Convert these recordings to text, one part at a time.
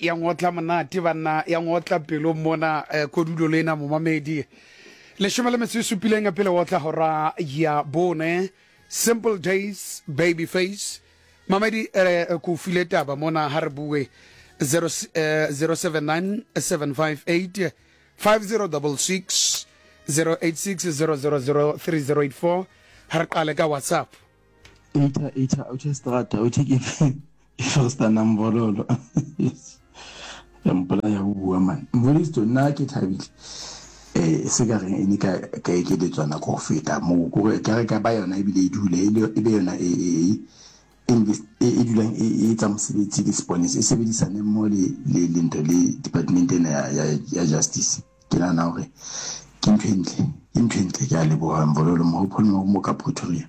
ya ngotla monate banna, ya ngotla pelo mona eh, kodulo lena momamedi. Leshome le metso e supileng pele otla hora ya bone. Simple Days, Baby Face. Mamedi eh, ko o file taba mona ha re bue 0 eh, 079 758 5066 086 000 3084 ha re qale ka WhatsApp. Eitha eitha uthe strata uthe ke ke first nambololo ya mpolaya o bua man mvolisto nna ke thabile eh se ka reng e ne ka ka ekeletswa nako go feta moo kore ka re ka ba yona ebile e dule e be yona e e e e dulang e e etsa mosebetsi le seponesa e sebedisane mmoho le le le ntho le department ena ya ya ya justice ke nahana hore ke ntho e ntle ke ntho e ntle ke a leboha Mvololo Mohopolo mo ka Pretoria.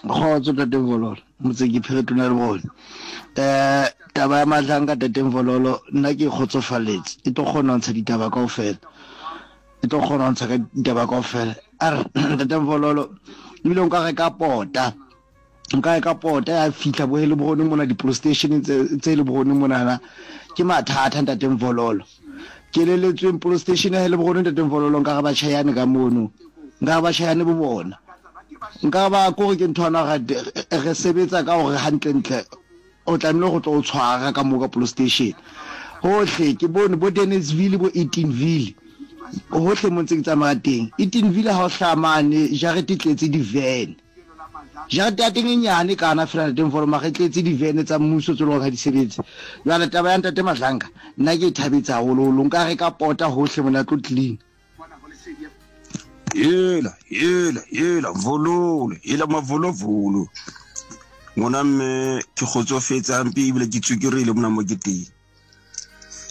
Kgotso Tate Mvololo, Motseki Pheretona le bone. Eh taba ya Madlanga Tate Mvololo nna ke e kgotsofaletse. E tlo kgona ho ntsha ditaba kaofela. E tlo kgona ho ntsha ka ditaba kaofela. A re Ntate Mvololo ebile nka reka pota. Nka reka pota ya fihla bo Heilbron mona di-police station tse tse Heilbron monana. Ke mathata Ntate Mvololo. Ke eleletsweng police station ya Heilbron Ntate Mvololo nka re ba tjhayane ka mono. Nka re ba tjhayane bo bona. Nka ba kore ke nthwana re sebetsa ka hore hantlentle o tlamehile go tlo o tshwara ka moo ka police station. Hohle ke bone bo Denersville bo Eatonville hohle mo ntse ke tsamaya teng. Eatonville ha o hlaha mane jarete e tletse di-van. Jarete ya teng e nyane kana fela ntate Mfolo mara e tletse di-van tsa mmuso tse leng hore ha di sebetse. Jwale taba ya ntate Madlanga nna ke e thabetse haholoholo. Nka reka pota hohle mona tlo clean. Hela, hela, hela, vololo, hela mavolovolo. Ngwana mme ke kgotsofetse hampe ebile ke tsukirile mona mo ke teng.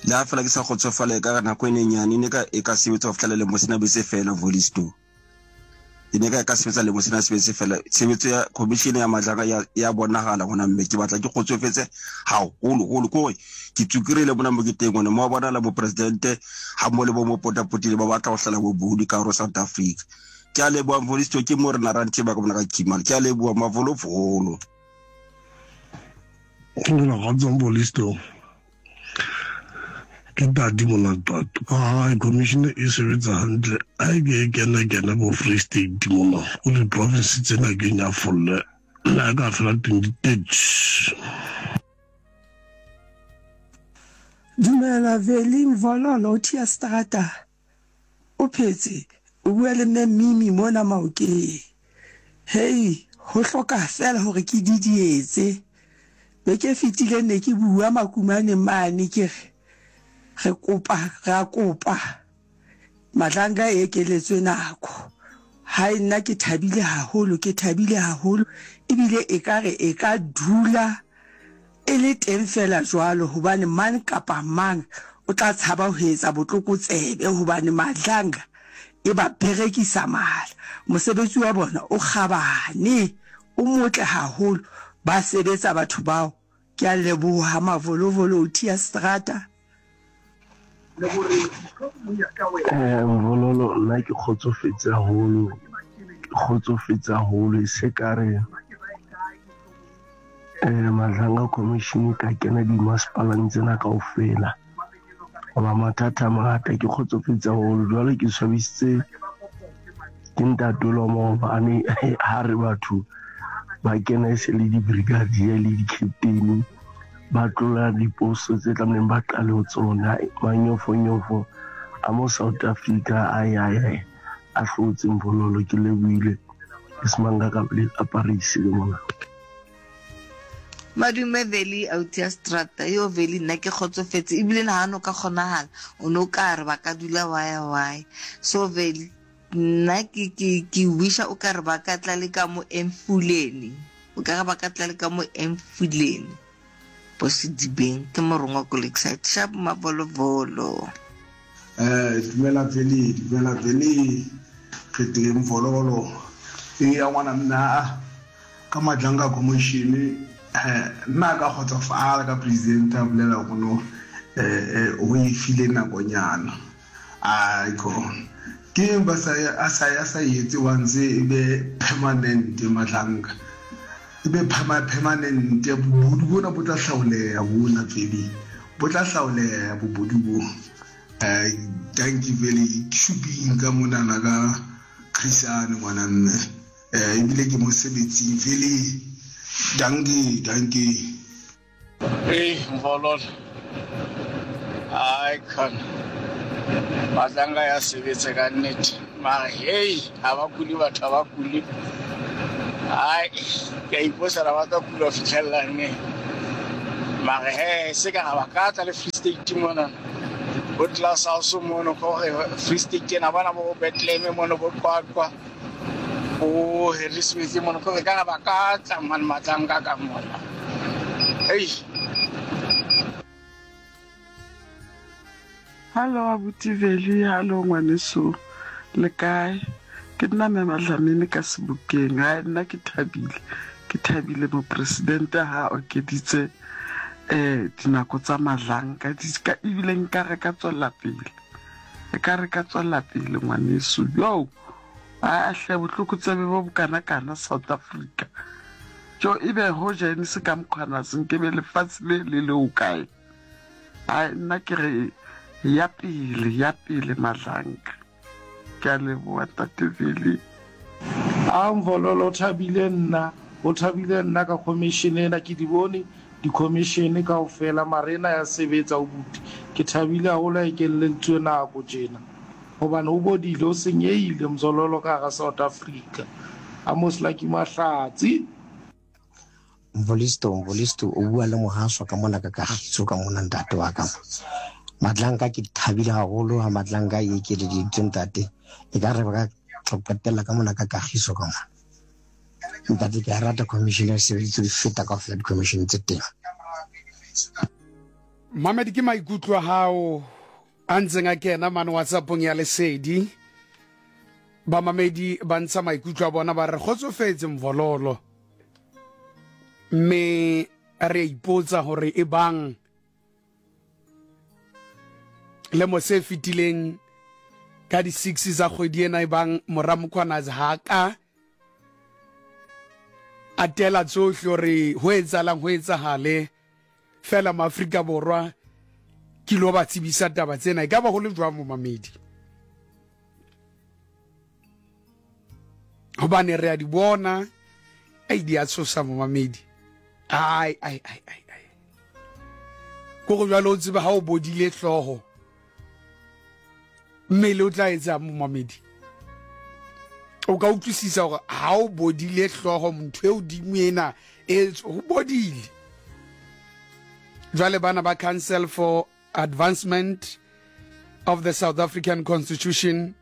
Le ha fela ke sa kgotsofala e ka nako e nenyane e ne ka e ka sebetsa ho fihlela lemo sena be se fela Volisto. E ne ka e ka sebetsa lemo sena se be se fela. Tshebetso ya commission ya Madlanga ya ya bonahala ngwana mme ke batla ke kgotsofetse haholo holo ke hore ke tsukirile mona mo ke teng gone mo bonahala mopresidente ga mo le bo mo potapotile ba batla go tlhela bobodi ka gare South Africa. Ke a leboha Mfolisto ke mo rena ranthe ba ka bona ka Kimale. Ke a leboha mavolovolo. Dumela kgotsa Mfolisto. Ke tadi mona Qwaqwa. Hai commission e sebetsa hantle. Ha e ke e kene kene bo Free State mona. Ko di-province tsena ke nyafolle. Le ha e ka fela 2030. Dumela Veli Mvololo o thia strata o phetse o bua le mme Mimi mona Maokeng. Hei ho hloka fela hore ke didietse. Beke e fetileng ne ke bua Makumaneng mane ke re re kopa ra kopa Madlanga e ekeletswe nako. Hai nna ke thabile haholo ke thabile haholo ebile ekare e ka dula e le teng feela jwalo hobane mang kapa mang o tla tshaba ho etsa botlokotsebe hobane Madlanga e ba berekisa mala. Mosebetsi wa bona o kgabane, o motle haholo, ba sebetsa batho bao. Ke a leboha Mavolovolo o tia strata. Eh, Mvololo nna ke kgotsofetse haholo, ke kgotsofetse haholo e se ka re eh Madlanga Commission e ka kena dimasepaleng tsena kaofela. Hoba mathata a mangata ke kgotsofetse haholo jwale ke swabisitse ke ntate wa maobane ha re batho ba kena e se le di-brigadier le di-captain ba tlola diposo tse tlamehileng ba qale ho tsona manyofonyofo a mo South Africa ai ai ai a hlotse Mvololo ke lebohile ke semanga ka a Paris le mona. Madume Veli auti ya strata yo Veli nna ke kgotsofetse ebile na ha no ka kgonagala o no ka re ba ka dula waya waya so Veli nna ke ke ke wisha o ka re ba ka tla le ka mo Emfuleni o ka re ba ka tla le ka mo Emfuleni bo Sedibeng ke morongwa ko Lakeside sharp mavolovolo. Eh, dumela Veli, dumela Veli. Re teng Mvololo. Eya ngwana mme a ka Madlanga Commission eh nna ka kgotsofala ka president a bolela gore no eh o e file nakonyana. Aiko. Ke eng ba sa a sa a sa etse once e be permanent Madlanga. E be permanent. Bobodu bona bo tla hlaoleha bona Veli. Bo tla hlaoleha bobodu bo. Dankie Veli. Ke shuping ka monana ka Chrisane ngwana mme. Ebile ke mosebetsing Veli. Dankie, dankie. Ei Mvololo, ai khona Matlanga ya sebetsa ka nnete mara hei ha ba kule batho ha ba kule ai ke a ipotsa ra ba tla kula ho fitlhelela neng mara he se ka ga ba ka tla le Free State mona bo Glass House mono ko gore Free State ena bona bo Bethlehem mono bo Qwaqwa bo Harrismith mono ko re ka ga ba ka tla mane Matlanga ka mona hei. Hallo abuti Veli, hallo ngwaneso, le kae? Ke nna Mme Madlamini ka Sebokeng. Hai nna ke thabile, ke thabile mopresidente ha a okeditse eh dinako tsa Madlanka di ka ebile nka re ka tswella pele. E ka re ka tswella pele ngwaneso. Yo! Aa hle botlokotsebe bo bokanakana South Africa. Tjo ebe hoja e ne se ka Mkhwanazi nkebe lefatshe le le le hokae? Hai nna ke re ya pele ya pele Madlanka. Ke a leboha Ntate Veli. A Mvololo o thabile nna, o thabile nna ka commission ena, ke di bone di commission kaofela mara ena ya sebetsa o buti, ke thabile haholo ha e kelelleditswe nako tjena hobane o bodile o senyehile Mzololo ka hara South Africa. Amos Lucky Mahlatsi. Mvolisto, Mvolisto, o bua le Mohaso ka mona ka kagiso ka mona ntate wa ka. Matlanka ke thabile haholo ha Matlanka e ekeleditswe ntate. E ka re ba ka qetella ka mona ka kagiso ka mona. Ntate ke a rata commission ya sebeditse di feta kaofela di-commission tse teng. Mamedi ke maikutlo a hao a ntseng a kena mane WhatsAppong ya Lesedi. Bamamedi ba ntsha maikutlo a bona ba re kgotsofetse Mvololo. Mme re a ipotsa hore e bang lemo se fetileng ka di-six tsa kgwedi ena e bang mora Mkhwanazi ha ka a tela tsohle hore ho etsahalang ho etsahale fela maafrika borwa ke lo ba tsebisa taba tsena e ka ba ho le jwang momamedi hobane re a di bona ai di a tshosa momamedi ai ai ai ai ai ko go jwalo o tsebe ha o bodile hlooho mmele o tla etsang momamedi o ka utlwisisa gore ha o bodile hlooho motho e odimo ena e ho bodile jwale bana ba council for advancement of the south african constitution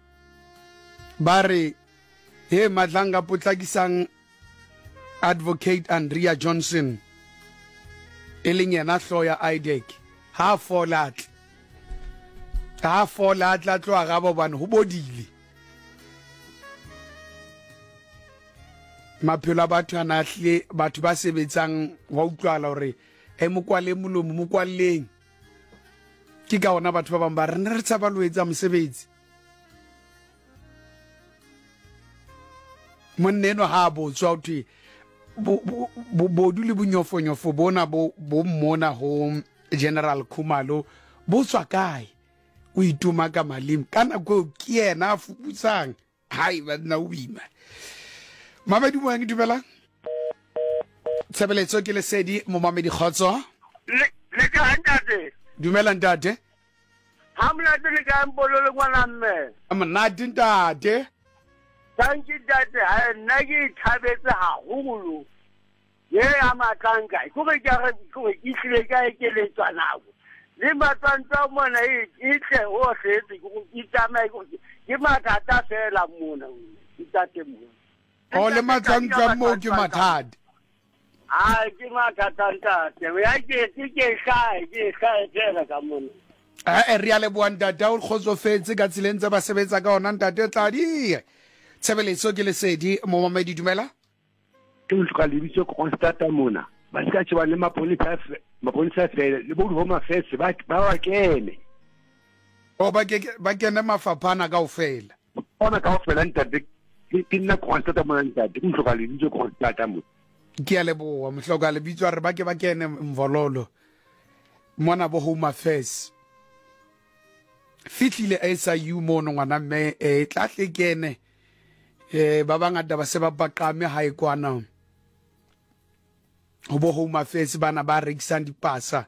ba re he matlanga potlakisang Advocate Andrea Johnson, e leng yena hloho ya IDAC, ha a fole a tle. Ha a fole a tle a tlo araba hobane ho bodile. Maphelo a batho a na hlile batho ba sebetsang wa utlwahala hore e mo kwaleng molomo mo kwalleng. Ke ka ona batho ba bang ba re ne re tshaba lo etsa mosebetsi. Monna enwa ha a botswa ho thwe bobodu le bonyofonyofo bona bo bo mmona ho General Khumalo bo tswa kae? O itoma ka maleme ka nako eo ke yena a fuputsang. Hai banna o boima. Mamedi moyeng dumelang. Tshebeletso ke lesedi momamedi kgotso. Le le kae ntate? Dumela ntate. Ha monate le kae Mpololo ngwana mme? Ha monate ntate. Thank you ntate, ha nna ke ithabetse haholo. Ye ya matlanka, ke gore ke re ke gore ke tlile ka ekeletswa nako. Le matlantsa mona e e tle hohle e ke gore ke tsamaye ke ke mathata fela mona ntate mona. O le matlantsa moo ke mathata. A ke mathata ntate. Ya ke ke ke hlae, ke hlae fela ka mona. Eh re a leboha ntate o kgotsofetse ka tseleng tse ba sebetsa ka ona ntate Tladi. Tshebeletso ke lesedi momamedi dumela. Ke hloka lebitso Kroonstad mona. Ba se ka shebana le maponesa maponesa fela le bo di-home affairs ba ba kene. O ba ke ba kene mafapha ana kaofela. Ona kaofela ntate ke nna Kroonstad mona ntate ke hloka lebitso Kroonstad mona. Ke a leboa mohloka lebitso a re ba ke ba kene mvololo mona bo Home Affairs. Fihlile SIU mono ngwana mme e tla tle kene eh ba bangata ba se ba paqame hae kwana ho bo Home Affairs bana ba rekisang dipasa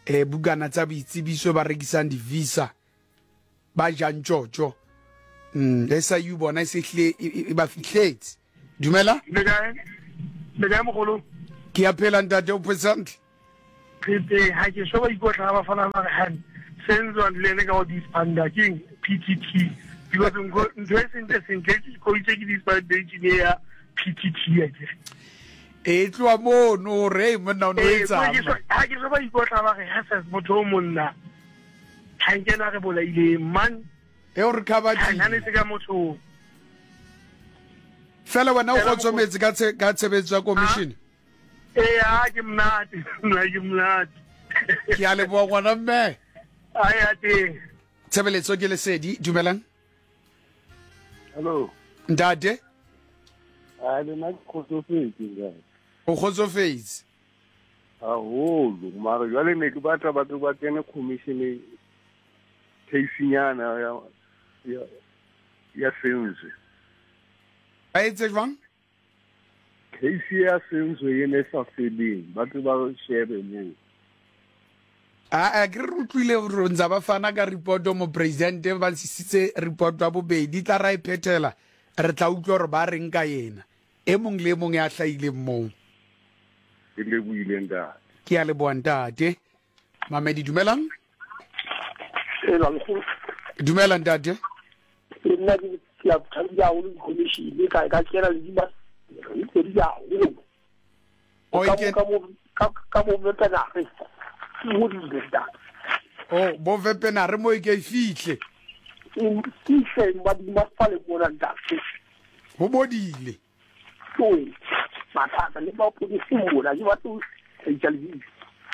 eh bukana tsa boitsebiso ba rekisang di-visa ba jang tjotjo mm SIU bona e se hlile e, e, e ba fihletse dumela le kae le kae mogolo ke ya phela ntate o phetse hantle re teng ha ke so ba ikotla ga ba fana ba re han senzo le ene ka go dispanda ke PTT because ntho e sentle sentle ke ko itse ke dispandation ya PTT ya ke e tloa mono re monna o no etsang ha ke so ba ikotla ba re ha motho o monna ga nke na re bolaileng man e o re khabatlile ga ne se ka motho fela wena o kgotsometse ka ka tshebetso ya commission ee a ke monate nna ke monate ke a leboa ngwana mme a ya teng tshebeletso ke lesedi dumelang hello ntate a le nna ke kgotsofetse ntate o kgotsofetse Haholo, mara jwale ne ke batla batho ba kene commission case-nyana ya ya ya Senzwe. Ba etse jwang? Case ya Senzwe e ne sa feleng, ba tle ba shebe moo. A ke re utlwile gore ntsa ba fana ka report mo president ba sisitse report ya bobedi tla ra e phethela re tla utlwa gore ba reng ka yena E mong le e mong ya hlahileng moo. Ke lebohile ntate. Ke a leboha ntate. Mamedi dumelang. Ela lekgolo. Dumela ntate. Le nna ke ke a thabile haholo di-commission ka ka kena le di di di haholo. O Ka mo ka mo ka ka mo vepenare. Ke hodile ntate. Oh, bo vepenare mo e ke e fihle. E fihle ba di masepale mona ntate. Ho bodile. Toe, mathata le mapodisi mona ke batlo tlhaisa lebitso.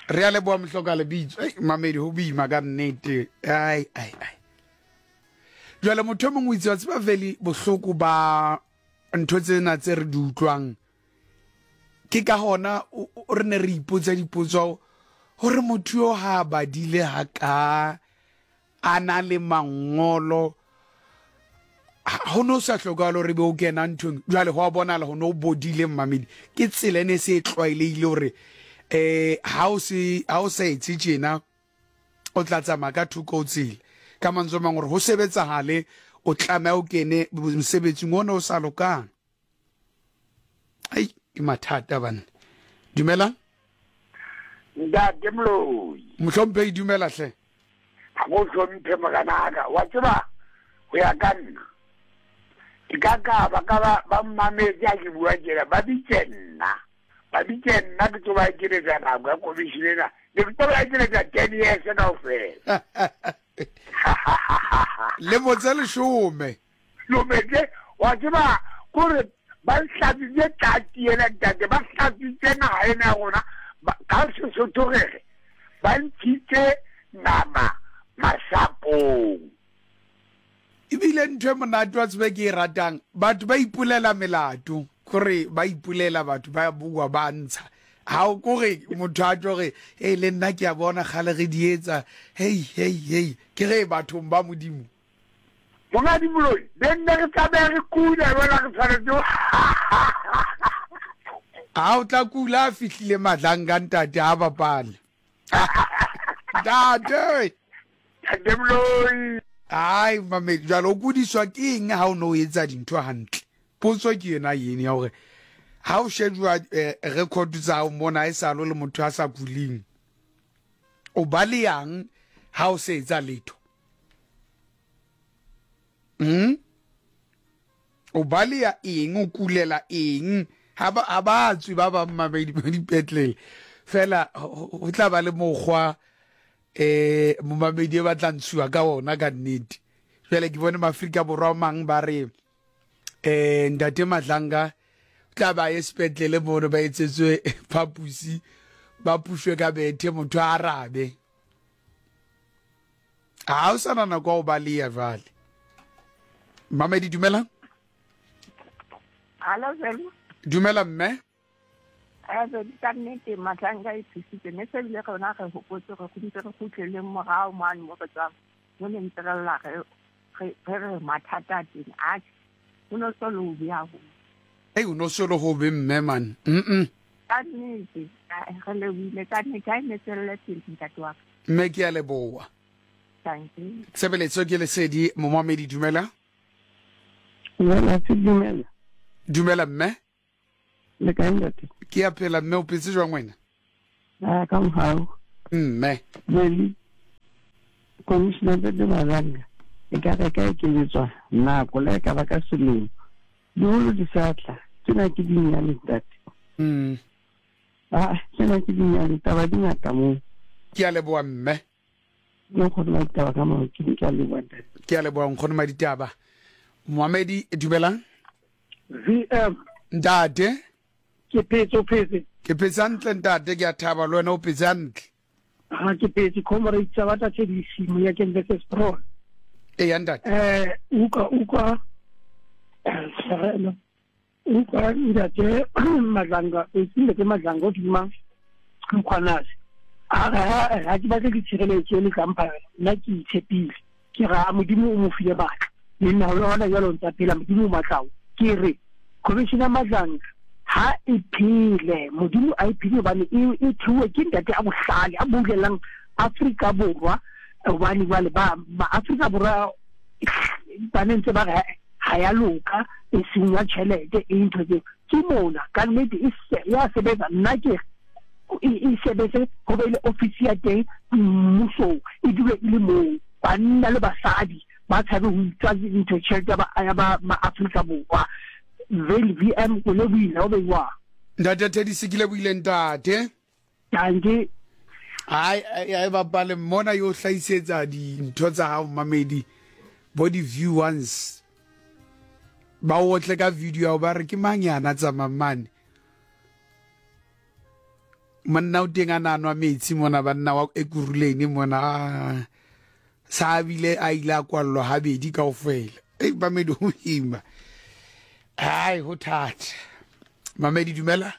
Re a leboha mohloka lebitso. Ei, mamedi ho boima ka nnete. Ai ai ai. Jwale motho e mongwe o itse wa tseba veli bohloko ba ntho tsena tse re di utlwang. Ke ka hona re ne re ipotsa dipotso hore motho yo ha badile ha ka a na le mangolo ho no sa hlokahale hore be o kena nthong jwale ho a bonala ho no bodile mmamedi ke tsela e ne se e tlwaelehile hore eh ha o se ha o sa etse tjena o tla tsamaya ka thoko o tsela ka mantswe a mang hore ho sebetsahale o tlameha o kene mosebetsing ona o sa lokang ai ke mathata banna dumelang ntate moloi mohlomphehi dumela hle ga go hlomphe moganaka wa tseba go ya ka nna ke ka ka ba ka ba ba mmametse a ke bua tjena ba bitse nna ba bitse nna ke tlo ba ekeletsa nako ya commission ena ne ke tlo ba ekeletsa ten years kaofela lemo tse leshome Lometse, wa tseba kore ba hlatswitse tlatsi ena ntate, ba hlatswitse naga ena ya rona ka Sesotho re re ba ntshitse nama masapong. Ebile ntho e monate wa tsebe ke e ratang, batho ba ipolela melato, kore ba ipolela batho ba bua ba ntsha. Ha o kore motho a tlo re, hey le nna ke a bona kgale re di etsa, hey hey hey, ke re bathong ba Modimo. Mongadi Moloi, be nne re tlameha re kula jwale re tshwanetse Ha o tla kula a fihlile Madlanga ntate ha bapale. Ntate. Ntate Moloi. Ai mame jwale o kudiswa ke eng ha o no etsa dintho hantle? Potso ke yona yene ya hore ha o shejwa eh, record tsa hao mona e sa lo le motho a sa kuling. O ba le yang ha o se etsa letho? Mm? O baleya eng o kulela eng ha ba ha ba tswe ba bang mamedi ba dipetlele fela ho tla ba le mokgwa eh momamedi e batla ntshuwa ka ona ka nnete jwale ke bone maAfrika Borwa mang ba re eh ntate Madlanga tla ba ye sepetlele mono ba etsetswe phapusi ba pushwe ka bethe motho a arabe ga o sana nako ya go baleya jale mamedi dumela Hallo, Selma. dumela mme Ebe ka nnete Madlanga e thusitse mme se bile rona re hopotse re ntse re kgutleleng morao mane mo re tswang mo ne ntse re lla re re re mathata a teng atjhe ho no so le hobe haholo. Ei o no so le hobe mme man. Mm. Ka nnete re lebohile ka nnete ha e ne tswelle pele ntate wa ka. Mme ke a leboha. Dankie. Tshebeletso ke lesedi momamedi dumela. Dumela se dumela. Dumela mme. Le kae ntate? Ke a phela mme o phetse jwang wena? A ka mohau. Mme. Jwale Commissioner Ntate Madlanga e ka re ka ekeletswa nako le ka ba ka selemo. Diholo di sa tla. Tsena ke dinyane ntate. Ah, tsena ke dinyane taba di ngata moo. Ke a leboha mme. Ke nkgono Maditaba ka maokeng ke a leboha ntate. Ke a leboha nkgono Maditaba. Moamedi dumelang. VM. Ntate. Ke phetse o phetse. Ke phetse hantle ntate ke a thaba le wena o phetse hantle. Ha ke phetse comrade tsa batla tse di simo ya ke versus Pro. E ya ntate. Eh uka uka eh Utlwa ntate Madlanga, ntate Madlanga o duma Mkhwanazi. A re ha ke batle ditshireletso le tla mpha yona, nna ke itshepile. Ke ra Modimo o mo file matla. Le nna hona jwale o ntsa phela Modimo o matla ao. Ke re Commissioner Madlanga ha e phele, Modimo a e phele hobane e e theuwe ke ntate a bohlale a boulelang Afrika Borwa hobane jwale ba ma Afrika Borwa ba ne ntse ba re ha ya loka e senya tjhelete e ntho tseo ke mona ka nnete e ya sebetsa nna ke e, e sebetse ho be le ofisi ya teng mmusong e dule e le moo banna le basadi ba tshabe ho utswa ntho tjhelete ya ba ma-Afrika Borwa Vele VM o lebohile o beiwa Ntate Teddy Sekile buile ntate. Dankie. Ai ai bapale mona yo hlahisetsa dintho tsa hao mamedi bo di view once ba otle ka video ya ba re ke mang yana tsamang mane monna o teng a na nwa metsi mona banna wa ekuruleni mona sa bile a ile a kwallwa habedi kaofela ei mamedi ho ima ai ho thata mamedi dumela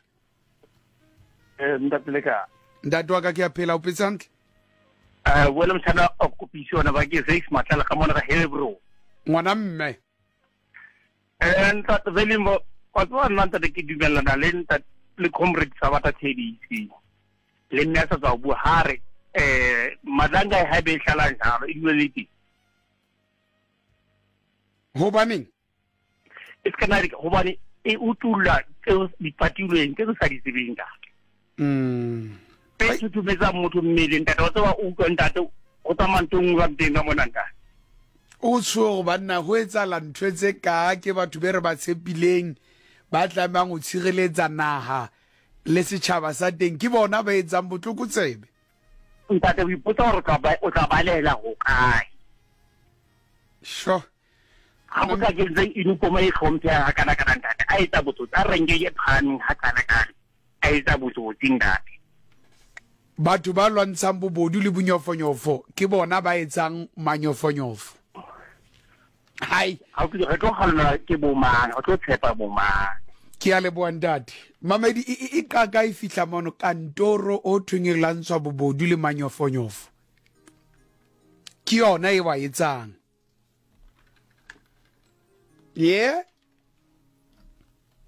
Eh, ntate le ka. Ntate wa ka ke a phela o phetse hantle? Eh, wena motshana o kopisi ona ba ke Zex Matlala ka mona ka Hebro. Ngwana mme. Eh, ntate Velimbo, wa tseba nna ntate ke dumellana le ntate le comrade sa bata TDC. Le nna sa tswa bua ha re eh Madlanga ha be hlala jalo e dule le teng. Hobaneng? E se kana hobane e utulla tseo di patilweng tse re sa di tsebeng ntate. E thuthumetsang motho mmele ntate wa tseba o utlwa ntate o tsamaya ntho nngwe ba teng ka mona ntate. O tsho banna ho etsahala ntho tse ka ke batho be re ba tshepileng ba tlamehang ho tshireletsa naha le setjhaba sa teng ke bona ba etsang botlokotsebe. Ntate o ipotsa hore o tla balela ho kae. Sure. Ga go ka kentse uniform e tlhomphega ga kana kana ntate a etsa botsotsi a renge e phahameng ga kana kana a etsa botsotsi ntate. Batho ba lwantshang bobodu le bonyofonyofo ke bona ba etsang manyofonyofo. Hai. Ga re tlo gallwa ke bomang, re tlo tshepa bomang. Ke a leboha ntate. Mamedi e, e, e qaka e fihla mono kantoro o thweng e lwantshwa bobodu le manyofonyofo. Ke yona e wa etsang. Yeah.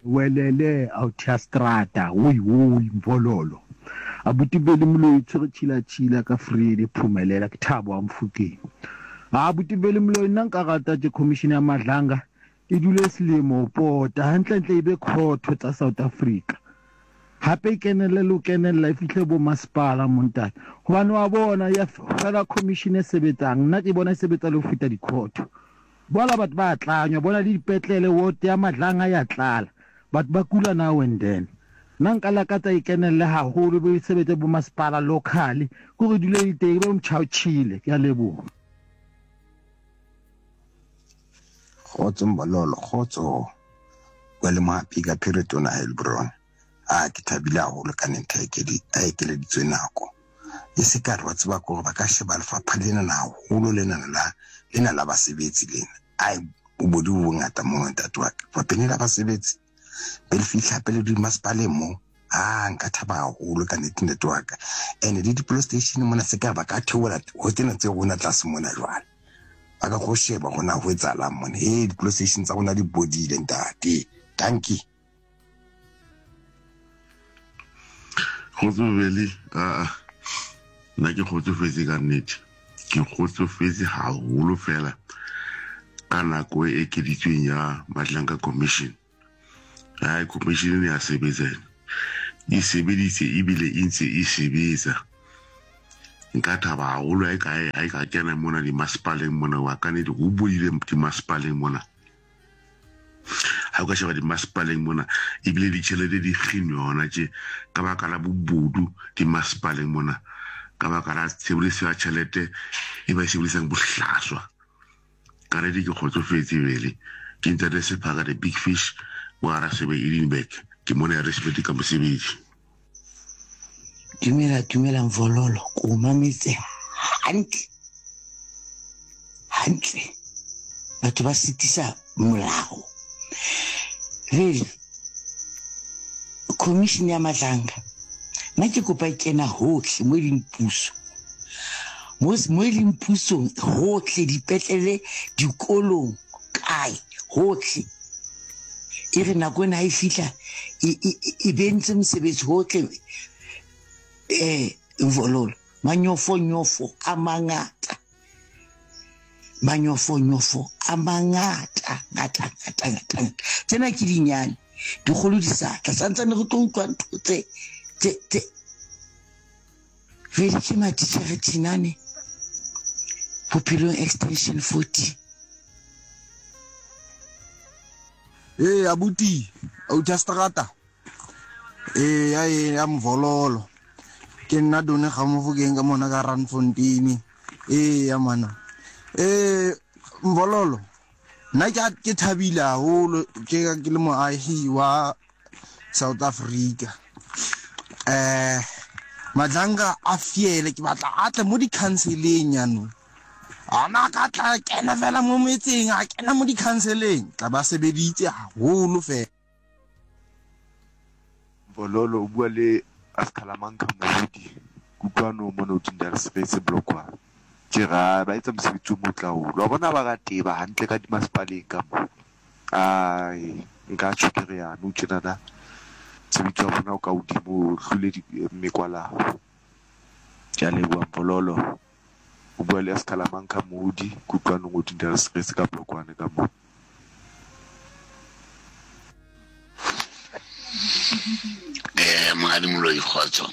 Welele authi ya strata woi woi mvololo abuti Veli Moloi tshwere tšhila tšhila ka Vrede phumelela ke Thabo wa Mofokeng a abuti Veli Moloi nna nka rata tše commission ya Madlanga e dule selemo pota hantlentle e be khotho tsa South Africa Hape e kenelle le ho kenella e fihle bo masepala mo ntate. Hobane wa bona ya fela commission e sebetsang nna ke bona e sebetsa le ho feta dikhotho. Bola batho ba tlanywa bona le dipetlele ward ya Madlanga ya tlala. Batho ba kula now and then. Nna nka lakatsa e kenelle haholo e be e sebetse bo masepala locally kore e dule e le teng e be motjha-o-tjhele. Ke a leboha. Kgotso Mbololo, kgotso. Bua le Mohapi ka Phiritona Heilbron. A ke thabile haholo ka nete a ekeleditswe nako. E se ka re wa tseba kore ba ka sheba lefapha lena na haholo lena la lena la basebetsi lena. Ai bobodu bo bongata mono ntate wa ka. Lefapheng la basebetsi be le fihla hape le dimasepaleng mo. A nka thaba haholo ka nnete ntate wa ka. And le di-police station mona se ka ba ka theola ho tsena tse rona tlase mona jwale. Ba ka go sheba gona ho etsahalang mona. Ee, di-police station tsa rona di bodile ntate. Dankie. Kgotso Veli, aa nna ke kgotsofetse ka nnete. Ke kgotsofetse haholo fela ka nako e ekeditsweng ya Madlanga Commission. Hai commission ena ya sebetsa ena. E sebeditse ebile e ntse e sebetsa. Nka thaba haholo ha e ka ha e ka kena mona dimasepaleng mona wa ka nnete ho bodile dimasepaleng mona. Ha o ka sheba dimasepaleng mona ebile ditjhelete di kginwe hona tje ka baka la bobodu dimasepaleng mona ka baka la tshebediso ya tjhelete e ba e sebedisang bohlaswa. Ka nnete ke kgotsofetse bele. Ke ntate Sephaka the big fish wa Rasebe Edinburgh. Ke mona ya respect ka mosebetsi. Dumela dumela Mvololo, ke o mametse hantle hantle. Batho ba sitisa molao. Jwale commission ya Madlanga nna ke kopa e kena hohle mo e leng puso. Mo mo e leng pusong hohle dipetlele, dikolong, kae hohle. E re nako ena ha e fihla e e e bentse mosebetsi hohle eh Mvololo. Manyofonyofo a mangata. Manyofonyofo a mangata ngata ngata ngata ngata. Tsena ke dinyane, dikgolo di sa tla. Santsane re tlo utlwa ntho tse tse tse Vele ke matitjhere Thinane Bophelong Extension 40. Ee abuti, auta strata. Ee ya e ya mvololo. Ke nna Done Gamofokeng ka mona ka Randfontein. Ee ya mana. Ee mvololo. Nna ke ke thabile haholo ke ke le moahi wa South Africa. Eh Madlanga a fiele ke batla a tle mo di-counseleng yanong. Ana ka tla kena fela mo metseng a kena mo di-counseleng tla ba sebeditse haholo fela. Mvololo o bua le Askalamanka Moruti Kutlwano mona Odindalsretse Block 1. Ke re ba etsa mosebetsi o motle haholo. Wa bona ba ka teba hantle ka dimasepaleng ka moo. Ai, nka tjho ke re nou tjenana mosebetsi wa bona o ka hodimo o hlole mekwalabo. Ke a leboha Mvololo. O bua le Askalamanka Moodi Kutlwanong Odindalsretse ka Block 1 ka moo. Eh, Monghadi Moloi, kgotso.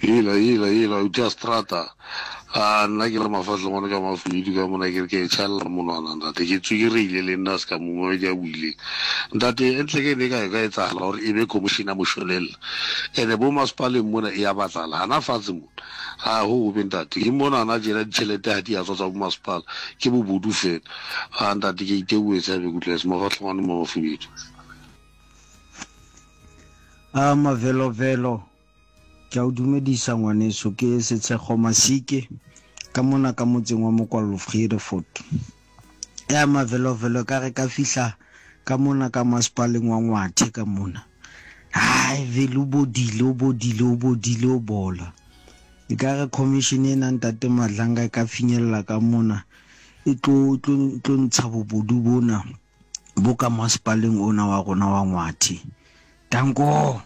Hela, hela, hela, o tia strata. A nna ke le mafatlhe ngwana ka mafudu ka mona ke re ke e tšhalela monwana ntate ke tswekereile le nna se ka momamedi a buileng ntate e ntle ke ne ka e ka etsagala gore e be commission ya mošwelella ene bo masepaleng mona e ya batlala gana fatshe mona ga go gobe ntate ke mona ana jena ditšhelete ga di a tswa tsa bo masepala ke bobodu fela a ntate ke iteboetse a be kutlwese mafatlhe ngwana mo mafubedu A mavelovelo, ke a o dumedisa ngwaneso, ke Setshego Masike ka mona ka motseng wa Mokwallo Vredefort. Ya mavelovelo ka re ka fihla ka mona ka masepaleng wa Ngwathe ka mona. Hai vele o bodile o bodile o bodile o bola. E ka re commission ena ntate Madlanga e ka finyella ka mona e tlo tlo tlo ntsha bobodu bona. bo ka masepaleng ona wa rona wa Ngwathe. Danko!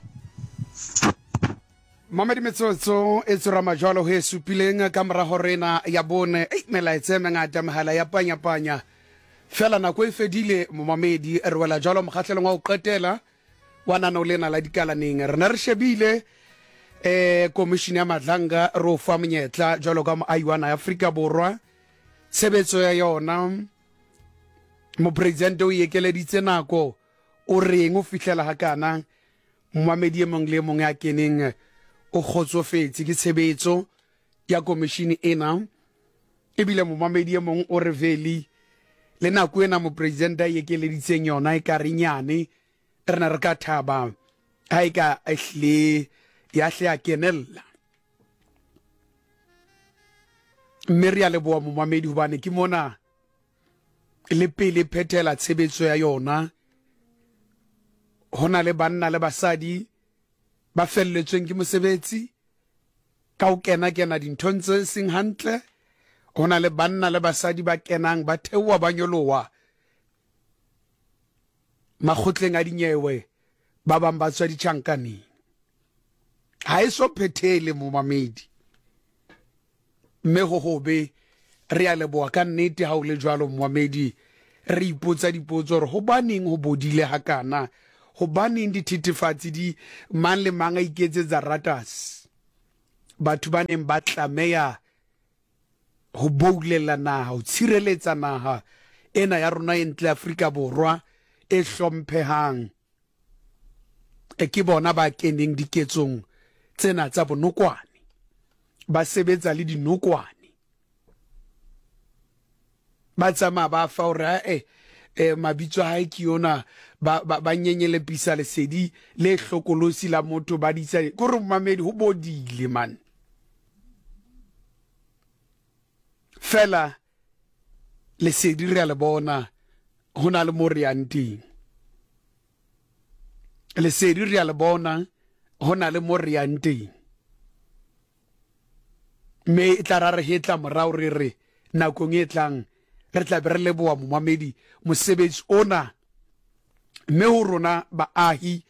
Mamedi metsotso e tsorama jwalo ho e supileng ka morago rena ya bone. Ei, melaetsa e mengata, mehala ya panya-panya. Fela nako e fedile, momamedi, re wela jwalo mokgahlelong wa ho qetela wa nano lena la dikalaneng. Re ne re shebile eh komishini ya Madlanga re o fa monyetla jwalo ka moahi wa naha ya Afrika Borwa. Tshebetso ya yona Mopresidente o ekeleditse nako, o reng o fihlela hakana? Momamedi e mong le e mong ya keneng o kgotsofetse ke tshebetso ya komishini ena. Ebile momamedi e mong o re Veli, le nako ena mopresidente a ekeleditseng yona e ka re nyane, re ne re ka thaba ha e ka ehlile ya hle ya kenella. Mme re a leboha momamedi hobane ke mona le pele phethela tshebetso ya yona. Ho na le banna le basadi ba felletsweng ke mosebetsi ka ho kena-kena dinthong tse seng hantle. Ho na le banna le basadi ba kenang ba theoha ba nyoloha makgotleng a dinyewe, ba bang ba tswa ditjhankaneng. Ha e so phethele momamedi. Mme ho hobe, re a leboha ka nnete ha o le jwalo momamedi. Re ipotsa dipotso hore hobaneng ho bodile hakana, hobaneng dithethefatsi di mang le mang a iketsetsa ratas. Batho ba neng ba tlameha ho boulela naha, ho tshireletsa naha ena ya rona e ntle Afrika Borwa e hlomphehang. E ke bona ba keneng diketsong tsena tsa bonokwane, ba sebetsa le dinokwane, ba tsamaya ba fa hore ae eh, mabitso a hae ke yona, ba, ba, ba nyenyelepisa lesedi le hlokolosi la motho ba ditsa kore momamedi ho bodile man fela lesedi re a le bona ho na le mo re yang teng lesedi re a le bona ho na le mo re yang teng mme e tla ra re hetla morao re re nakong e tlang re tla be re leboha momamedi mosebetsi ona mme ho rona baahi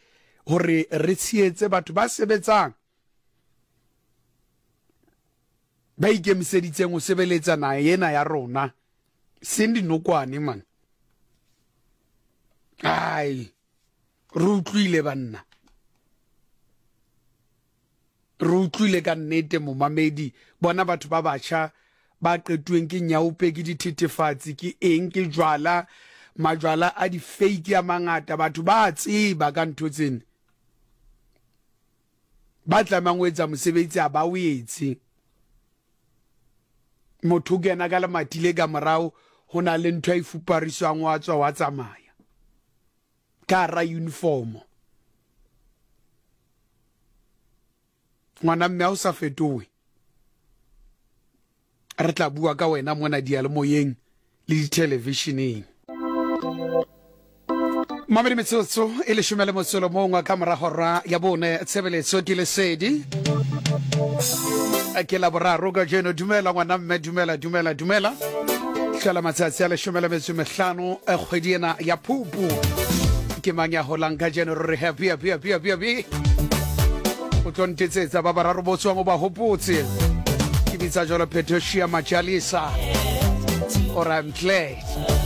hore re tshehetse batho ba sebetsang ba ikemiseditseng ho sebeletsa naha ena ya rona seng dinokwane man ai re utlwile banna re utlwile ka nnete momamedi bona batho ba batjha ba qetuweng ke nyaope ke dithethefatsi ke eng ke jwala majwala a di-fake a mangata batho ba tseba ka ntho tsena ba tlamehang ho etsa mosebetsi a ba o etse motho o kena ka lemati le ka morao ho na le ntho a e fupariswang wa tswa wa tsamaya ka hara uniformo ngwana mme ha o sa fetohe re tla bua ka wena mona diyalemoyeng le dithelevisheneng. Mamedi metsotso e leshome le motsolo mongwe ka mora hora ya bone tshebeletso ke lesedi ke la boraro kajeno dumela ngwana mme dumela dumela dumela hlola matsatsi a leshome le metso mehlano eh, kgwedi ena ya phupu ke mang ya holang kajeno re re happy happy happy happy happy o tlo ntetsetsa ba bararo bo tswang o ba hopotse ke bitsa jalo phetoshia majalisa or I'm glad.